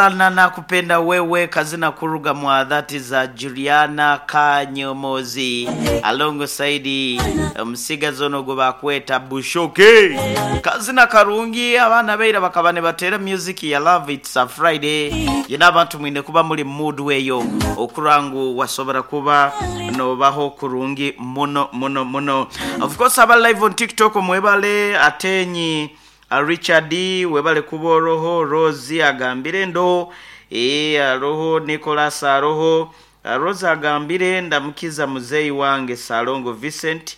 Sana nakupenda wewe kazina kuruga mwa dhati za Juliana Kanyomozi alongside omusigazi ono gwe bakweta Bushoke. Kazina karungi, abaana beira bakaba nibateera music ya love. It's a Friday yena abantu mwine kuba muri mood weyo okurangu wasobora kuba nobaho kurungi muno muno muno. Of course aba live on TikTok mwebale atenyi. Richard webale kuba oroho, Rose agambire ndo aroho Nicholas aroho. Rose agambire ndamukiza muzeyi wange Salongo Vincent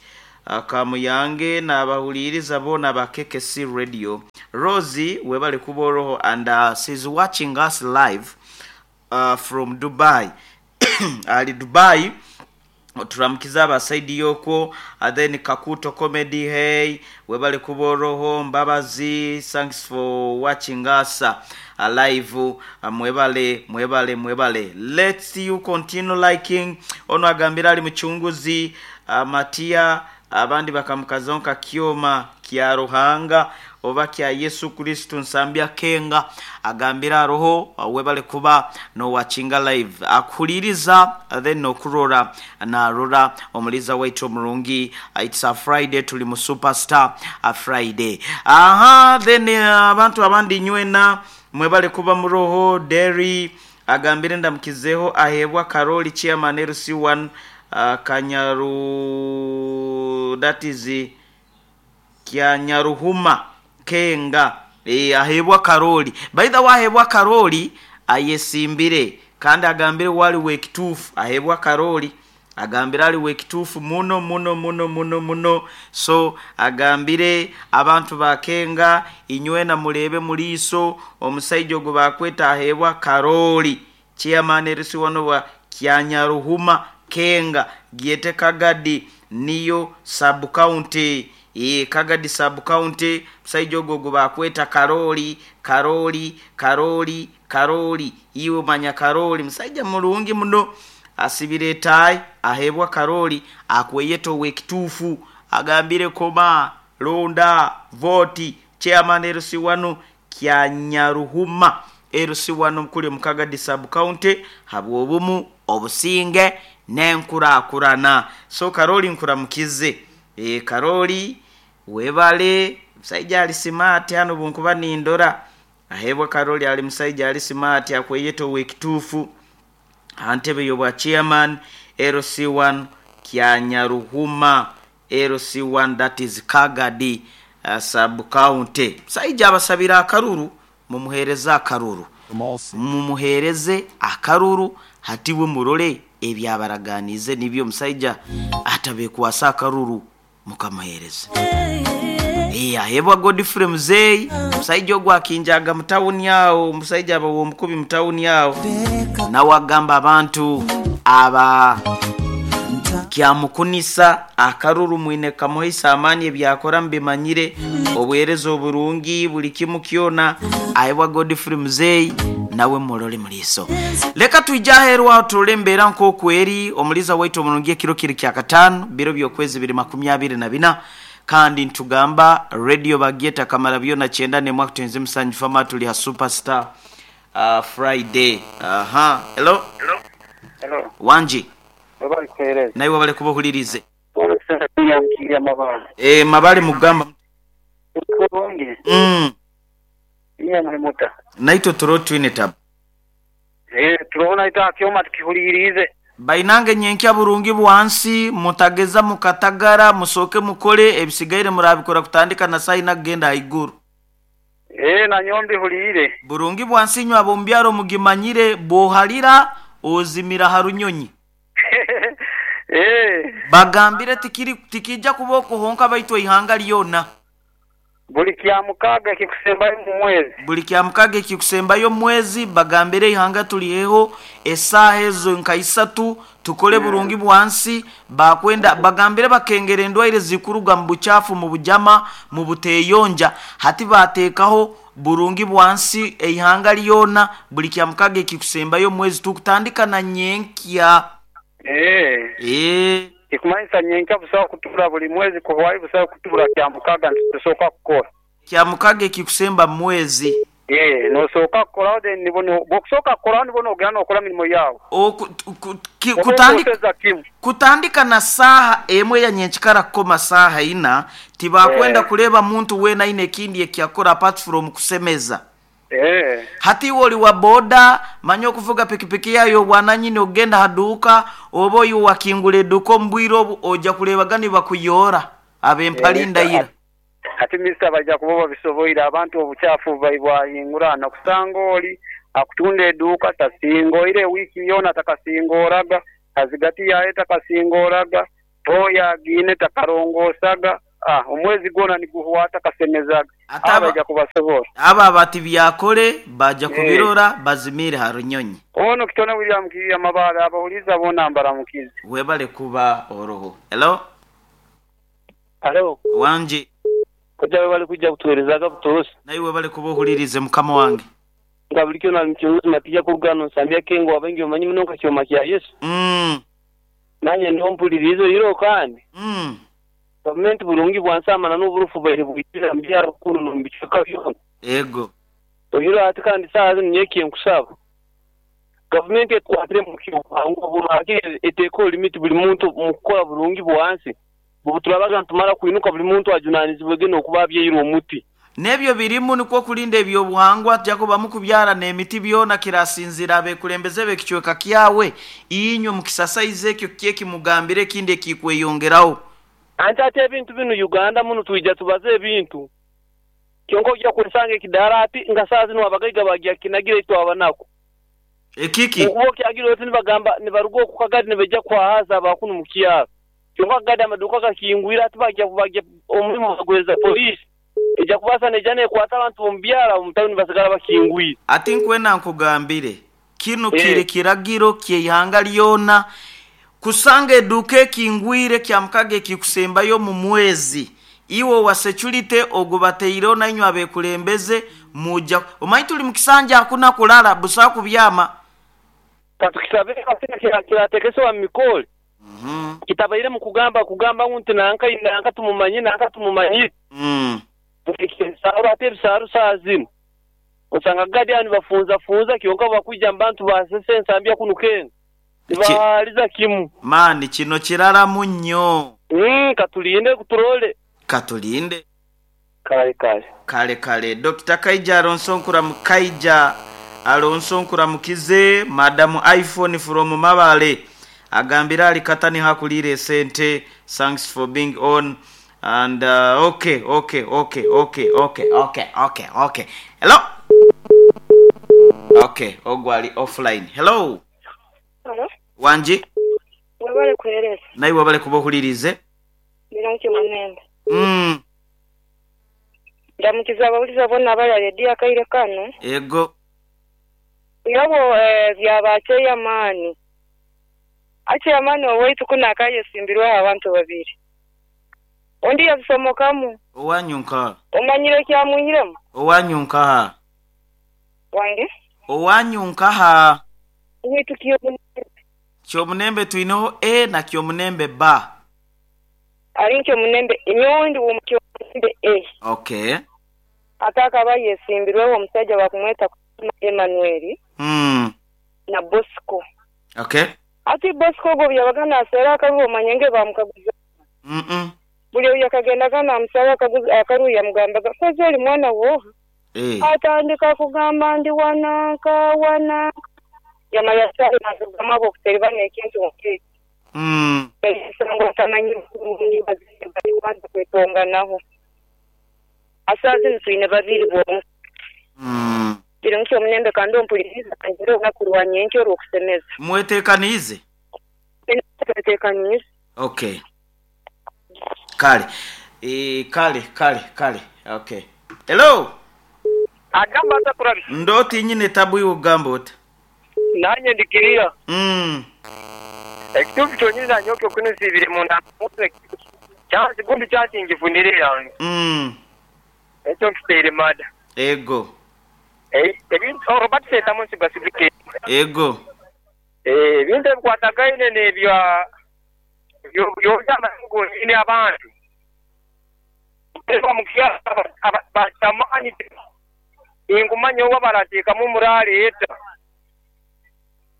Kamuyange n'abahuliriza boona ba KKC Radio. Rose webale kuba oroho and she's watching us live from Dubai. Ali Dubai, turamukiza abasaidi yokwo. Then Kakuto Comedy, hey, webale kuba oroho. Mbabazi, thanks for watching us live. Mwebale mwebale mwebale, let's you continue liking. Ono agambira ali muchunguzi Matia, abandi bakamukazaho nka Kyoma kya Ruhanga oba kya Yesu Kristo nsambya kenga. Agambira aroho, webale kuba nowachinga live akuhuliriza then nokurora narora omuliza waitu omurungi. It's a Friday, tuli mu Superstar a Friday. Aha, then abantu abandi nywena mwebale kuba muroho. Derry agambire ndamukizeho ahebwa Karoli chairman LC1 Kanyaru, that is Kyanyaruhuma Kenga. Ahebwa Karoli, by the way, ahebwa Karoli ayesimbire kandi agambire wali wekituufu. Ahebwa Karoli agambire ali wekituufu muno muno muno muno muno. So agambire abantu bakenga inywena murebe muliiso omusaija ogwo bakweta ahebwa Karoli chairman LC1 wa Kyanyaruhuma Kenga gyete Kagadi niyo sub county. Kagadi sub county, musaija ogwo gwe bakweta Karoli Karoli Karoli Karoli, iwe manya Karoli musaija mulungi muno, asibire etayi. Ahebwa Karoli akweyeta owekituufu, agambire koma londa voti chairman LC1 Kyanyaruhuma LC1 mukuli mu Kagadi sub county habwobumu obusinge n'enkurakurana. So Karoli nkuramukize. Karoli webale, musaija ali smart hano bunkuba nindora. Ahebwa Karoli ali musaija ali smart akweyeta owekituufu antebe yobwa chairman LC1 Kyanyaruhuma LC1, that is Kagadi sub county. Musaija abasabira akaruru, mumuhereze akaruru, mumuhereze akaruru hatiwe murole ebyabaraganize nibyo musaija atabekwasa akaruru mukamuhereza. Ahebwa Godfrey Muzei, musaija ogwo akinjaga mutawuni awo, musaija aba womukubi mutawuni awo, nawe agamba abantu aba kyamukunisa akaruru mwine kamuhaisa amaani, ebyakora mbimanyire, obuhereza oburungi buli kimu kyona. Ahebwa Godfrey Muzei nawe murole muliiso. Leka twije aheeru aho turole embeera nk'oku eri. Omuliza waitu omurungi, ekiro kiri kya kataano biro by'okwezi 2024, kandi ntugamba radio bagyeta kamara byona 91.7 fama, tuli ha Superstar Friday. Aha, hello. Hello. Wanji. Webale kuhereza. Naiwe webale kuba ohulirize. Mabale. Mabale mugamba. Kurungi. Iye muri muta. Naitwe turo twine tabu. Turabona ita kyoma tukihulirize. Bainange nyenkya burungi bwansi mutageza mukatagara musoke mukole ebisigaire murabikora kutandika na saina kugenda haiguru. Na nyombi hulire. Burungi bwansi nywa bombyaro mugimanyire bohalira ozimira harunyonyi. Bagambire tikiri tikija kuboko honka baitwa ihanga lyona. Buli kya mukaga kikusembayo mu mwezi. Buli kya mukaga kikusembayo mwezi bagambire ihanga tuliheho esaha ezo nka isatu tukole burungi bwansi bakwenda bagambire bakengera endwaire zikuruga mu buchafu mu bujama mu buteyonja hati batekaho burungi bwansi eihanga lyona buli kya mukaga kikusembayo mwezi tukutandika na nyenkya. Ikumanyisa nyenkya busawa kutura buli mwezi kuhwayi busawa kutura kya mukaga ntusoka kukora. Kya mukaga kikusemba mwezi. Eeh nosooka kukoraho then nibwo bwokusooka kukoraho nibwo nogenda nokora mirimo yaawe. Oku Oba kutandika okwoseza kimu. Kutandika na saaha emwe ya nyenkikara kukoma saaha ina, tibakwenda kureeba muntu weena aine ekindi eki akora apart from kusemeza. Hati iwe ori wa boda, manya okuvuga pikipiki yaawe y'obwananyini okugenda aha duuka, oba ori owakingura eduuka omu bwire obu, oija kureebaga nibakuyoora ab'empare ndaira. Hati Mister baija kuba babisoboire abantu obukyafu bwahingurana kusanga ori akutunda eduuka tasingoire wiiki yoona takasingooraga, azigati yaayo takasingooraga, tooyi agiine takarongosaga, omwezi gwona niguhwa takasemezaga. Ate Abo baija kubasobora. Abo abatibyakore baija kubirora bazimiire ha runyonyi. Ono Kitone William Kiiya Mabaale abahuliiza boona mbaramukize. Webale kuba oroho. Hello. Halo. Wangi. Kojja webale kwija kutuwerezaga butosa. Naiwe webale kuba ohuliriize mukama wange. Nka buli kyona ali mukyongozi Matiya kuruga hano Nsambya Kengo abaingi bamanyi muno nka Kyoma kya Yesu. Nanye ndiho mpuliriize oihireho kandi gavumenti burungi bwansi amana n'oburofu bubaire bwizire omu byaro kunu n'omu bicweka byona. Ego. Oihireho hati kandi saaha zinu nyowe ekinkusaba gavumenti etukwatire omu ky'obuhangwa bunu hakiri eteekeho limiti buli muntu omu kukora burungi bwansi obu turabaga nitumara kwinuka buli muntu ajunanizibwege n'okuba abyaire omuti. N'ebyo birimu nikwo kurinda eby'obuhangwa tyakubamu kubyara n'emiti byona kirasinziira abekulembeze b'ekicweka kyawe inywe mukisasaize ekyo kiki ekimugambire ekindi ekikweyongeraho. Anti ati ebintu binu Uganda munu twija tubaze ebintu kyonka oija kwesanga ekidaara ati nka saaha zinu abagaiga bagya kinagira itwe abanaku. Ekiki? Okuba okyagira oti nibagamba nibaruga oku kagadi nibaija kuhahaza aba kunu mu kyaro. Kyonka kagadi amaduuka gakingwire ati bagya bagya omurimo baguhereza poliisi eija kubaasa neija nekwata abantu b'omu byaro abo omu tawuni basigara bakingwire. Ati nkwena nkugambire, kinu kiri kiragiro ky'eihanga lyona kusanga eduuka ekingwire Kyamukaga ekikusembayo omu mwezi. Iwe owa securite ogubateireho nainywe abekulembeze muja omanyi tuli mu kisanja hakuna kulala busaho kubyama. Katukisabe kasita kiratekesebwa mu mikore kitabairemu kugamba kugamba ngu nti nanka nanka tumumanyire nanka tumumanyire. Ebisaaru ate ebisaaru saaha zinu osanga gadi aho nibafunzafunza kyonka obubakwija mu bantu basesa ensambya kunu kenga nibahaaliza kimu. Maani kino kiraramu nnyo. Katulinde turole. Katulinde. Kale kale. Kale kale. Dokita Kaija Alonso Kaija Alonso nkuramukize. Madam iPhone from Mabale agambire ali kata niho akuliire esente. Thanks for being on and okay okay okay okay okay okay okay okay. Hello. Okay, ogwo ali offline. Hello. Halo. Wangi. Webale kuhereza. Naiwe webale kuba ohuliriize. Ndi Munembe. Ndamukiza abawuliza boona abali aha rediyo akaire kano. Ego. Irabo bya ba ceyamaani. Aceyamaani owaitu kunu akayesimbirweho abantu babiri. Ondi yabisomokamu. Owanyu nkaha? Omanyire ekyamwihiremu? Owanyu nkaha? Wange? Owanyu nkaha? Owaitu Kyomunembe. Kyomunembe twineho A na Kyomunembe B. Ali Kyomunembe, nyowe ndi w'omu Kyomunembe A. Okay. Ate akaba yesimbirweho omusaija bakumweta Emmanuel na Bosco. Okay. Ati Bosco ogwo obu yabaga naaseera akaruru omanye nge baamukaguza. Buli obu yakagendaga naamusaba akaruru yamugambaga, kozi oli mwana wooha? Atandika kugamba ndi wananka wananka. Yamara yasara nazirugamu habw'okutereba n'ekintu nk'ekyo. Ngu atamanyire kurungi bazaire bari kubanza kwetonganaho. Asaaha zinu twine babiri bonka. Biri nkyo omunembe kandi ompuliriza ngira olunaku lwa nyenkya orw'okusemeza. Mwetekaniize? Twetekaniize. Okay. Kale. E, kale kale kale. Okay. Hello. Agamba ata Kurabisa? Ndoti nyine tabu iwe ogamba ota? Nanye ndikiriya. Ekituufu kyonyini nanyoke okunusibire munda chansi gundi chansi ngifunire yange. Ekyo nkiteire mada. Ego. Ebintu Robert Sentamu nsiga sibike. Ego. Ebintu ebikwatagaine n'ebya by'amaani abantu. Bamukyalo bakyamaani. Tinkumanya oba barateekamu muraaleeta.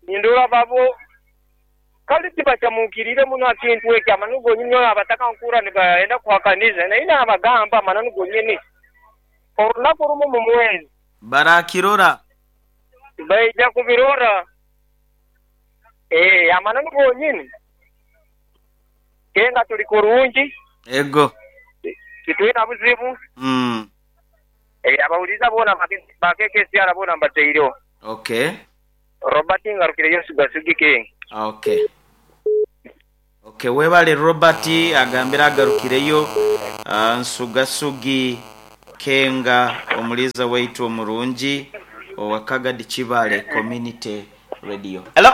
Nindora babo kale tibacamuukiriire muno ha kintu eki amananu gonyini abataka nkuhurra nibenda kuhakaniza naye nabagamba amananu gonyini. Orunaku rumu mu mwezi. Barakirora. Baija kubirora. Eeh amananu gonyini. Kenga tuli kurungi. Ego. Titwina buzibu. Abawuliriza boona ba KKCR boona mbataireho. Okay. Robert ngarukireyo Nsugasigi King. Okay. Okay, webale Robert agambire agarukireyo Nsugasugi Kenga omuliiza waitu omurungi owa Kagadi Kibale Community Radio. Hello.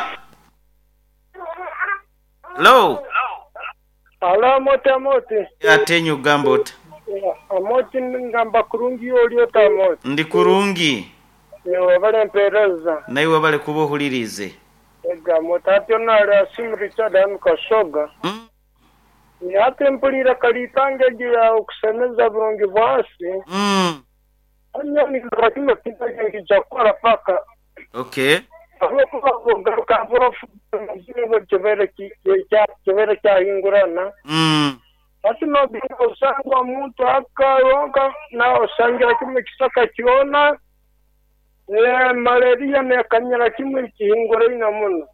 Hello. Halo Amooti Amooti. Ate nyo ogamba ota? Amooti ngamba kurungi iwe oli ota Amooti? Ndi kurungi. Iwe webale mpereza. Naiwe webale kuba ohuliriize. Ego Amooti hati onu ali Asimu Richard hanu Kasoga. Hati mpuliire kaliitango egyo ya okusemeza burungi bwansi. Hati nyowe nindora kimu ekintu ekyo nikiija kukora paka. Okay. Ahabw'okuba bw'ogaruka burofu kibaire kyahingurana. Hati nogenda osanga omuntu aka yonka nawe osangira kimu ekisaka kyona, malaria nekanyira kimu ekihinguraine muno.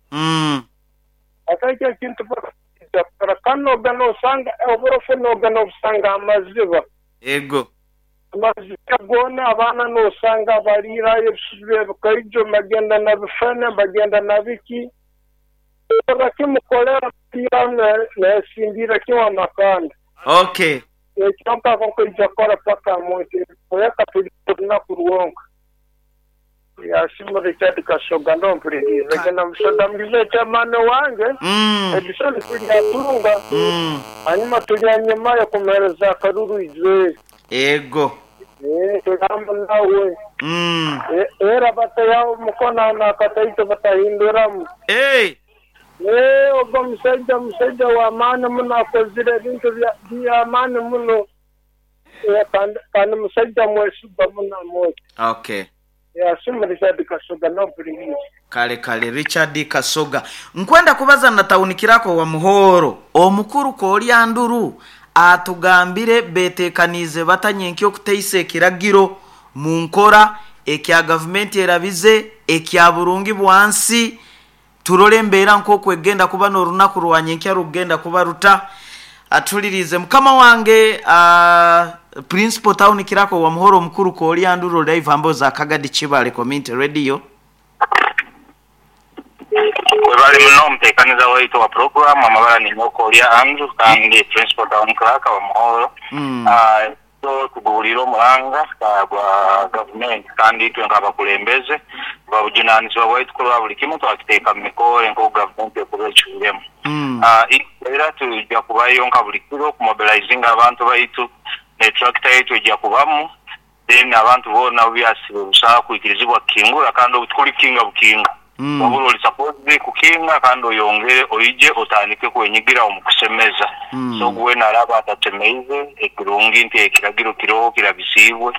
Hati ekyo ekintu paka nikiija kukora kandi nogenda osanga oburofu nogenda obusanga ha maziba. Ego. Amaziga goona abaana nosanga baliirayo ebisusu by'ebikaijo nibagenda na bifene, nibagenda na biki. Orra kimu kolera nesingiira kimu amakanda. Okay. Ekyo mpaka nkaija kukora paka omuntu kuleka tuli orunaku rwonka. Yasiima Richard Kasoga nompuliriize genda musoda mugize chairman wange Edison tulyatunga hanyuma tulyanyumayo kumuhereza akaruru Israel. Ego. Tulamba nawe. Era batayaho omukono nakataito batahinduramu. Ogwo musaija musaija w'amaani muno akozire ebintu by'amaani muno kandi musaija mwesigwa muno Amooti. Okay. Yasiima Richard Kasoga nompuliriize. Kale kale Richard Kasoga. Nkwenda kubaza na tawunikirako wa Muhoro. Omukuru Koolya Nduru atugambire betekaniize bata nyenkya okuteisa ekiragiro mu nkora ekya gavumenti erabize ekya burungi bwansi turole embeera nk'oku egenda kuba n'orunaku rwa nyenkya rugenda kuba ruta. Atuliriize mukama wange Principal Town Kirako wa Muhoro Omukuru Koolya Nduru live amboza Kagadi Kibale Community Radio. Webale muno omuteekaniza waitu wa program amabara ni Koolya Andrew kandi Principal Town Clerk wa Muhoro. So tuguwulire omuranga gwa gavumenti kandi itwe nk'abakulembeze babujunanizibwa bwaitu kurora buli kimu twakiteeka mu mikore nk'oku gavumenti ekuba ecwiremu. Era tujja kubayo nka buli kiro okumobilizinga abantu baitu ne tractor yaitu ejja kubamu then abantu boona byasibe busaha kwikirizibwa kukingura kandi obu kukinga bukinga. Wabula oli supposed kukinga kandi oyongere oije otandike kwenyigira omu kusemeza. So gwe naraba atatemeize ekirungi nti ekiragiro kiroho kirabisiibwe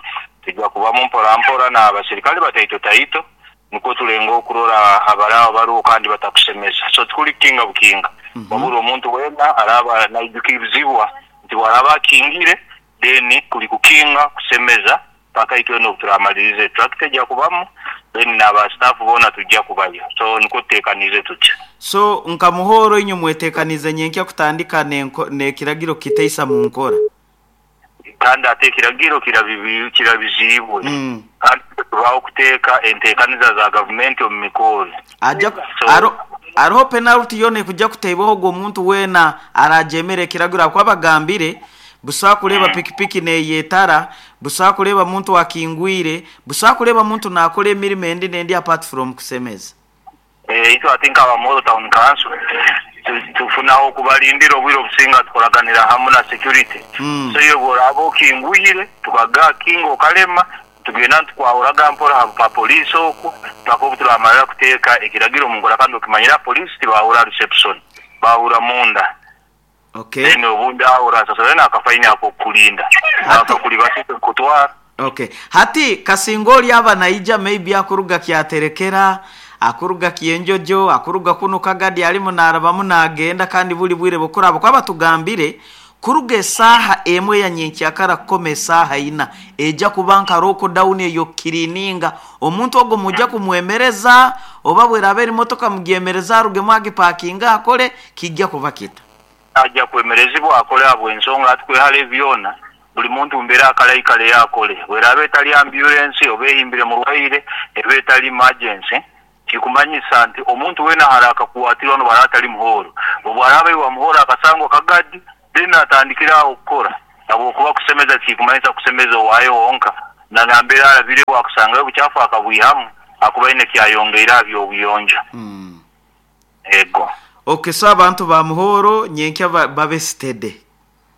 tujja kubamu mpora mpora n'abasirikale bataito taito niko tulenga okurora abaraba baruho kandi batakusemeza. So tukuli kukinga bukinga. Wabula omuntu wena araba naijukirizibwa nti waraba akingire then kuli kukinga kusemeza paka itwe n'okuturamalirize tractor ejja kubamu then n'aba staff boona tujja kubayo. So niko tuteekanize tutya. So nka Muhoro inyu mwetekanize nyenkya kutandika n'ekiragiro kiteisa mu nkora. Kandi ate ekiragiro kirabiziibwe. Kandi tubaho kuteeka enteekaniza za gavumenti omu mikoro. Aja aroho penalty yona ekujja kuteebwaho ogwo omuntu weena arajemera ekiragiro akuba bagambire busa kuleba pikipiki neyetara, busa kuleba muntu akingwire, busa kuleba muntu nakora emirimo endi nendi apart from kusemeza. Itwe ati nka Muhoro Town Council tufunaho okubalindira obwire obusinga tukolaganira hamu na security. So iyo bworaba okingwire tukaga kinga okalema tugenda tukwahuraga mpora ha police oku paka obu turamalira kuteeka ekiragiro mu nkora kandi okimanyira police tibahura reception bahura munda. Okay. Then obundi ahura sasa na akafaini ako kulinda. Akakulibasise kutwara. Okay, hati kasinga oli aba naija maybe akuruga kyaterekera, akuruga kyenjojo, akuruga kuno Kagadi, alimu narabamu nagenda, kandi buli bwire bukuraba kwaba tugambire kuruga esaaha emwe ya nyenkyakara kukoma esaaha ina, ejja kuba nka lockdown eyo kirininga. Omuntu ogwo mujja kumwemereza, oba bweraba eri motoka mugyemereza arugemu agipakinga akole, kijja kuba kita Ajja kwemerezibwa akole abo ensonga atukwehale byona. Buli muntu mbeera akalaikale yakole, bweraba etali ambulance oba ehimbire murwaire, eba etali emergency, kikumanyisa nti omuntu wena haraka kuwatirwa no atali Muhoro. Obwaraba iwa Muhoro akasangwa Kagadi, then atandikira aho okukora. Habwokuba kusemeza kikumanyisa kusemeza owaayo wonka, na nambeera arabire wakusangayo obukyafu akabwihamu, akuba aine kyayongeire aha by'obuyonjo. Ego. Okay, so abantu ba Muhoro nyenkya babe steady.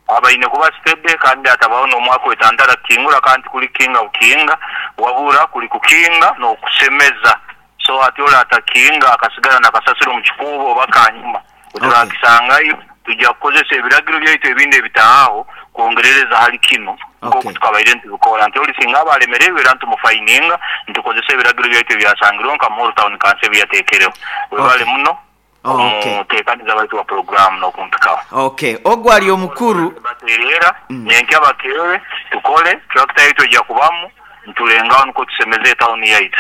Abaine kuba steady, kandi atabaho n'omwaka wetantara kukingura, kandi kuli kinga bukinga, wabura kuli kukinga n'okusemeza. So ati ole atakinga akasigara nakasasiro mu kikuubo oba kanyuma oturakisangayo, tujja kukozesa ebiragiro byaitu ebindi ebitaaho kwongerereza hali kino, nk'oku tukabaire ntubikora nti oli singa aba alemererwe era ntumufayininga, ntukozesa ebiragiro byaitu ebyasangirweho nka Muhoro Town Council ebiyateekereho. Webale muno omuteekaniza baitu wa programu n'okumpikaho. Okay, ogwo ali omukuru. Bateerera nyenkya bakeere tukole tractor yaitu ejja kubamu ntulengaho nukwo tusemeze etawuni yaitu.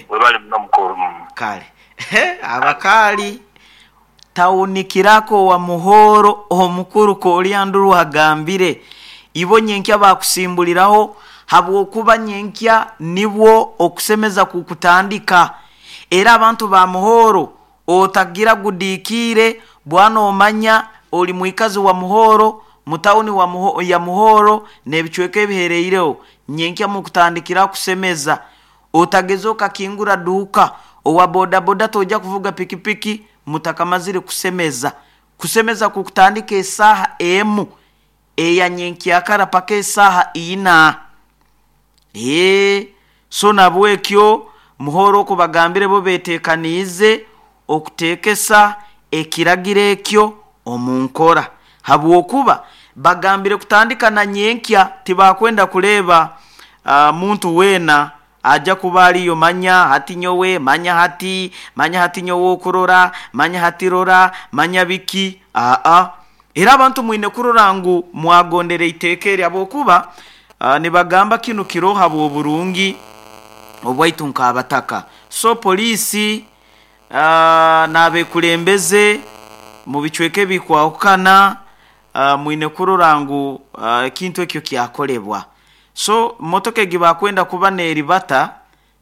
Webale muno mukuru. Kale abakaali tawuni kirako wa Muhoro omukuru Kolyanduru agambire ibo nyenkya bakusimbuliraho, habwokuba nyenkya nibwo okusemeza kukutandika. Era abantu ba Muhoro otagira gudikiire bwana, omanya oli mwikazi wa Muhoro, mutawuni wa ya Muhoro n'ebicweka ebihereireho, nyenkya mukutandikira kusemeza. Otageza okakingura duuka, owa bodaboda tojja kuvuga pikipiki mutakamazire kusemeza. Kusemeza kukutandika esaaha 1 eya nyenkyakara paka esaaha 4. So nabwekyo Muhoro okubagambire bo betekaniize okuteekesa ekiragiro ekyo omu nkora, habwokuba bagambire kutandika na nyenkya, tibakwenda kureeba muntu weena ajja kuba ariyo manya hati nyowe, manya hati, manya hati nyowe okurora, manya hati rora, manya biki. Aa, era abantu mwine kurora ngu mwagondera iteeka eri, habwokuba nibagamba kinu kiroho habw'oburungi obwaitu nk'abataka. So poliisi n'abekulembeze mu bicweka ebikwahukana, mwine kurora ngu ekintu ekyo kyakolebwa. So motoka egi bakwenda kuba neribata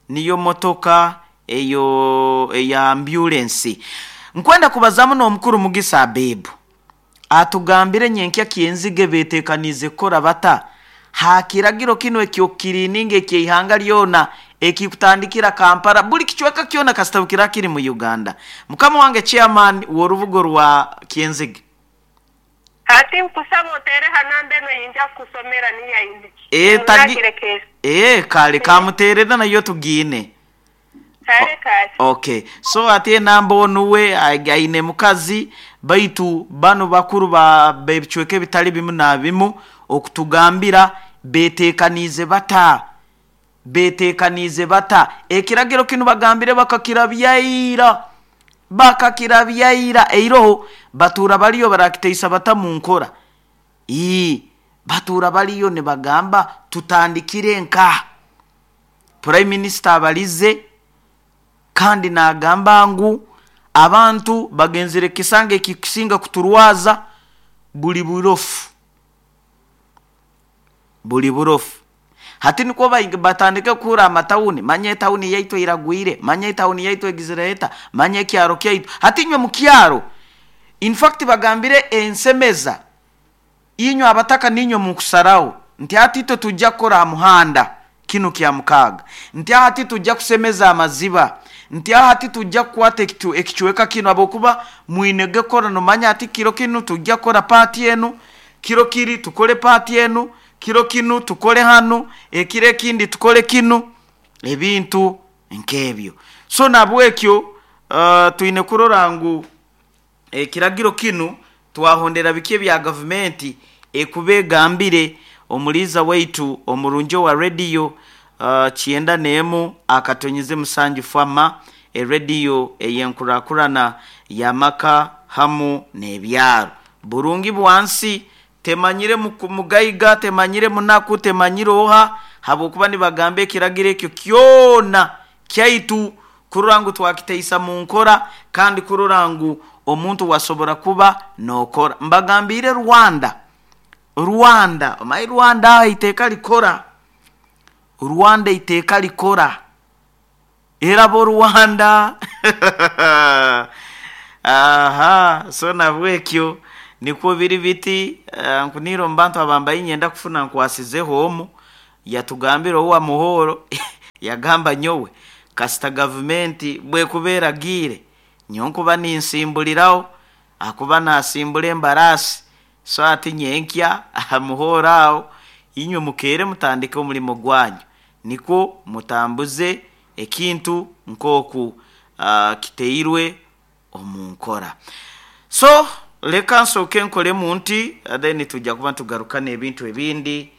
niyo motoka eyo eya ambulance. Nkwenda kubazamu n'omukuru Mugisa Abebu atugambire nyenkya kyenzige betekaniize kukora bata ha kiragiro kino ekyokukirininga ekyeihanga lyona ekikutandikira Kampala, buli kicweka kyona kasitabukira kiri mu Uganda. Mukama wange chairman w'orubugo rwa Kyenzige. Hati nkusaba otere hanamba eno yinja kukusomera niyaine. Kale kamuterera nayo tugiine. Kale kale. Okay, so ati enamba onuwe aine mukazi, baitu bano bakuru ba bebicweka ebitali bimu na bimu okutugambira betekaniize bata, betekaniize bata ekiragiro kinu bagambire bakakirabyaira, bakakirabyaira eiroho batuura baliyo barakiteisa bata mu nkora. Batuura baliyo nibagamba tutandikire nka Prime Minister abalize, kandi nagamba ngu abantu bagenzere kisanga ekikusinga kuturwaza buli burofu, buli burofu. Hati nikwo batandike kuhura amatawuni, manya etawuni yaitu iragwire, manya etawuni yaitu egizire eta, manya ekyaro kyaitu. Hati inywe mu kyaro, in fact bagambire ensemeza inywe abataka ninywe mukusaraho nti hati itwe tujja kukora ha muhanda kinu kya mukaaga, nti hati tujja kusemeza amaziba, nti hati tujja kukwata ekicweka kinu, habwokuba mwinege kukora nomanya hati kiro kinu tujja kukora paati enu, kiro kiri tukole paati enu, kiro kinu tukole hanu, ekiro ekindi tukole kinu, ebintu nk'ebyo. So nabwekyo twine kurora ngu ekiragiro kinu twahondera biki ebya gavumenti ekuba egambire. Omuliiza waitu omurungi owa rediyo 91.7 fama erediyo ey'enkurakurana y'amaka hamu n'ebyaro. Burungi bwansi temanyire mugaiga, temanyire munaku, temanyire oha, habwokuba nibagamba ekiragiro ekyo kyona kyaitu kurora ngu twakiteisa mu nkora kandi kurora ngu omuntu wasobora kuba n'okora. Mbagambire Rwanda, Rwanda, omanyi Rwanda aho iteeka likora, Rwanda iteeka likora, era bo Rwanda aha, so nabwekyo nikwo biri biti. Nkunire omu bantu abambaye nyenda kufuna nkwasizeho omu yatugambira owa muhoro yagamba nyowe kasita gavumenti bwekuba eragiire nyowe nkuba ninsimbuliraho akuba nasimbura embarasi, so ati nyenkya aha muhoro aho inywe mukeere mutandike omulimo gwanyu nikwo mutambuze ekintu nk'oku kiteirwe omu nkora. So leka nsooke nkolemu nti then tujja kuba nitugaruka n'ebintu ebindi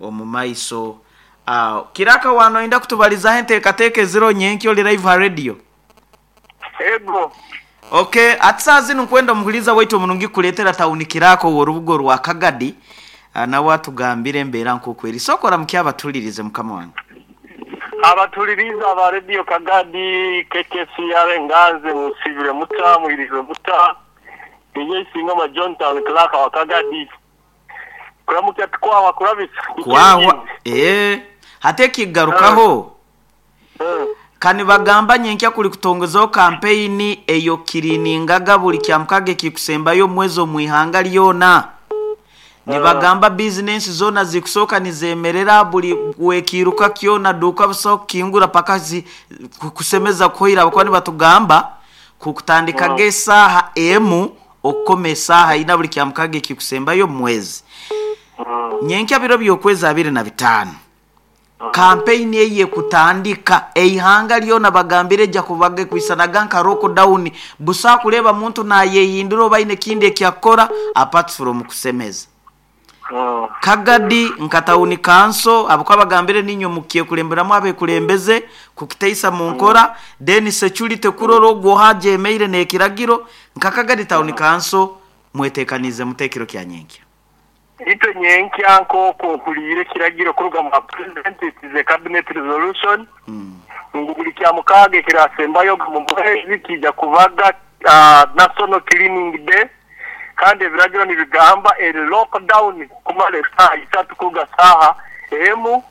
omu maiso aho. Kiraka wano oyenda kutubalizaho enteekateeka eziro nyenkya ori live ha radio? Ego. Okay, ati saaha zinu nkwenda omuhuriza waitu omurungi kukuleetera tawuni Kiraka ow'orubuga orwa Kagadi, nawe atugambire embeera nk'oku eri. Sooka oramukye abatulirize mukama wange. Abatulirize aba Radio Kagadi, KKCR Nganze, musibire muta, muhirizwe muta. Ninye Isingoma John Town Clark wa Kagadi. Kuramukya tukwawa kurabisa. Kwawa, hati ekigarukaho. Kani bagamba nyenkya kuli kutongozaho kampeyini eyo kiriningaga buli kyamukaga ekikusembayo omwezi omu ihanga lyona. Nibagamba bizinensi zoona zikusooka nizemerera buli wekiiruka kyona duuka busaho kukingura paka kusemeza kuhoire abakuba nibatugamba kukutandikaga esaaha 1 okukoma esaaha 4 buli kyamukaga ekikusembayo omwezi. Nyenkya biro by'okwezi 25. Kampeyini eye kutandika eihanga lyona bagambire ejja kubaga ekwisanaga nka lockdown, busa kureeba muntu nayehindura oba aine ekindi ekyakukora apart from kusemeza. Kagadi nka tawuni kanso abakuba bagambire ninywe mukyekulemberamu abekulembeze kukiteisa mu nkora, then security kurora ogwo hajemeire n'ekiragiro nka Kagadi tawuni kanso mwetekanize mutekero kya nyenkya. Itwe nyenkya nk'oku nkuliire ekiragiro kuruga mu president, it is a cabinet resolution, ngu buli kya mukaaga ekirasembayo mu mwezi kijja kubaga national cleaning day, kandi ebiragiro nibigamba eri lockdown kumara esaaha 3 kuruga saaha 1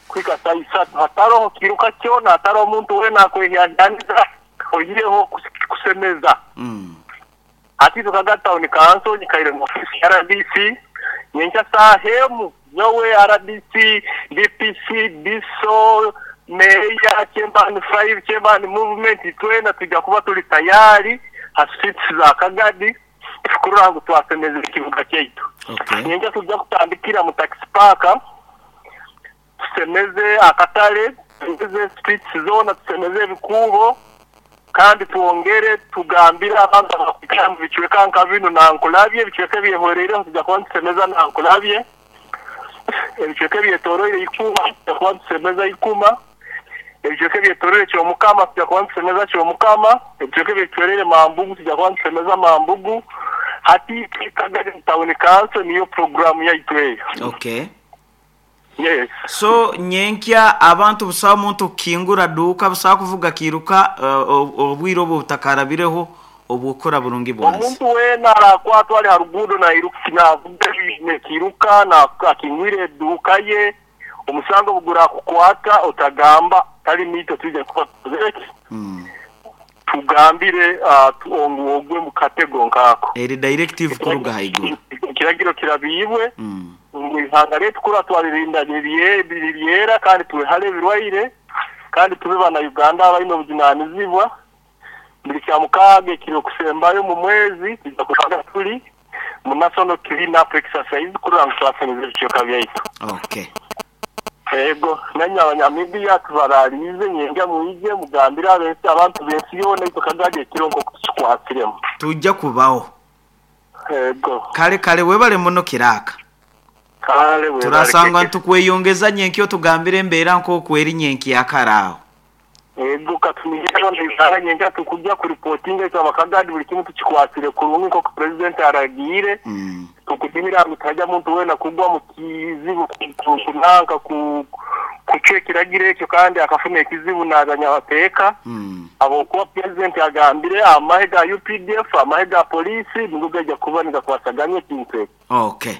kuhika saaha 3, hataroho kiruka kyona, hataroho omuntu weena akwehyahyanisa oihireho kusemeza. Hati itwe Kagadi Town Council nyikaire mu ofisi ya RDC nyenkya saaha 1 nyowe RDC, DPC, DISO, Meya, Chairman 5, Chairman Movement, twena tujja kuba tuli tayari ha streets za Kagadi kurora ngu twasemeza ekibuga kyaitu. Nyenkya tujja kutandikira mu taxi park, tusemeze akatale, tusemeze streets zona, tusemeze ebikuubo, kandi twongere tugambire abantu abakwikara mu bicweka nka binu nankulabye, ebicweka ebyehwereireho tujja kuba nitusemeza nankulabye, ebicweka ebyetoroire Ikuma tujja kuba nitusemeza Ikuma, ebicweka ebyetoroire Kyomukama tujja kuba nitusemeza Kyomukama, ebicweka ebyetoroire Mambugu tujja kuba nitusemeza Mambugu. Hati Kagadi Town Council niyo programu yaitu eyo. Yes. So nyenkya abantu busaho omuntu kukingura duuka, busaho kuvuga kiruka obwire obwo butakarabireho obwokora burungi bwansi. Omuntu weena arakwatwa ari ha ruguudo navuga nekiruka na akingwire eduuka ye, omusango bugurakukwata otagamba tali mito tujja kuba tuzeki. Tugambire ogwe mu katego nkako. Eri directive kuruga haiguru. Ekiragiro kirabibwe. Ngu ihanga letu kura twalirinda nibyera kandi tuwehale ebirwaire kandi tube bana Uganda abalina obujunanizibwa. Buli kya mukaaga ekiri kusembayo mu mwezi tujja kubaga tuli mu national clean up exercise kurora ngu twasemeza ebicweka byaitu. Ego, nanye abanyamidiya tubaralize nyenja muije mugambire abantu b'ensi yoona itwe Kagadi ekiro nk'oku tukikwasiremu. Tujja kubaho. Ego. Kale kale webale muno Kiraka. Kale webale Turasangwa keke. ntukweyongeza nyenkyo tugambire embeera nk'okweri nyenkya karaaho. Ego katumira nibara nyenja tukujja kuripotinga itwe abakagadi buli kimu tukikwasire kurungi nk'oku president aragiire. Tukudimira ngu tajya muntu wena kugwa mu kizibu kunanka kucwa ekiragiro ekyo kandi akafuna ekizibu n'abanyabateeka. Habwokuba president agambire amahe ga UPDF, amahe ga polisi nigo gajya kuba nigakwasaganya ekintu ekyo. Okay.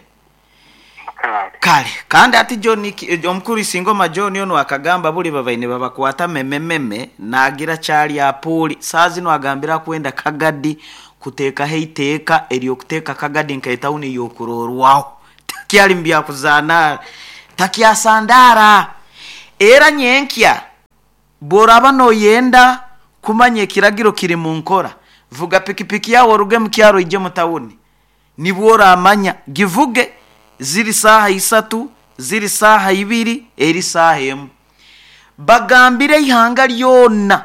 Kale. Kale kandi ati John omukuru Isingoma John ono akagamba buli babaine babakwata memememe nagira kyali apuli saa zino agambira kwenda Kagadi kuteekaho eiteeka ery'okuteeka Kagadi nka etawuni y'okurorwaho. Takyali mu byakuzaana, takyasandaara. Era nyenkya bw'oraba noyenda kumanya ekiragiro kiri mu nkora, vuga pikipiki yawe oruge mu kyaro ije mu tawuni, nibwo oramanya. Givuge ziri saaha 3, ziri saaha 2, eri saaha 1. Bagambire ihanga lyona,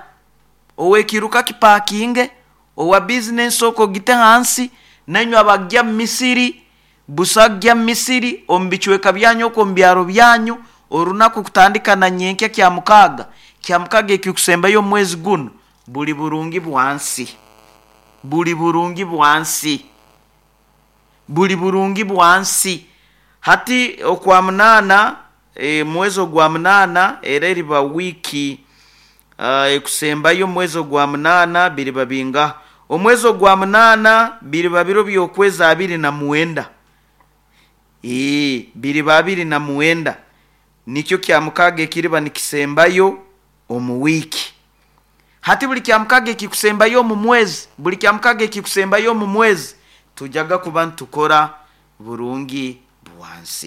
owekiruka kipakinge, owa bizinesi oko gite hansi, nanywe abajya mu misiri, busajya mu misiri, omu bicweka byanyu oko omu byaro byanyu, orunaku kutandika na nyenkya kya mukaaga, kya mukaaga ekikusembayo omwezi guno, buli burungi bwansi. Buli burungi bwansi. Buli burungi bwansi. Hati okwa 8, mwezi ogwa 8, era eriba wiiki ekusembayo omwezi ogwa 8 biriba bingaha? Omwezi ogwa 8 biriba biro by'okwezi 29. Biriba 29. Nikyo kya mukaaga ekiriba nikisembayo omu wiiki. Hati buli kya mukaaga ekikusembayo omu mwezi, buli kya mukaaga ekikusembayo omu mwezi, tujaga kuba nitukora burungi bwansi.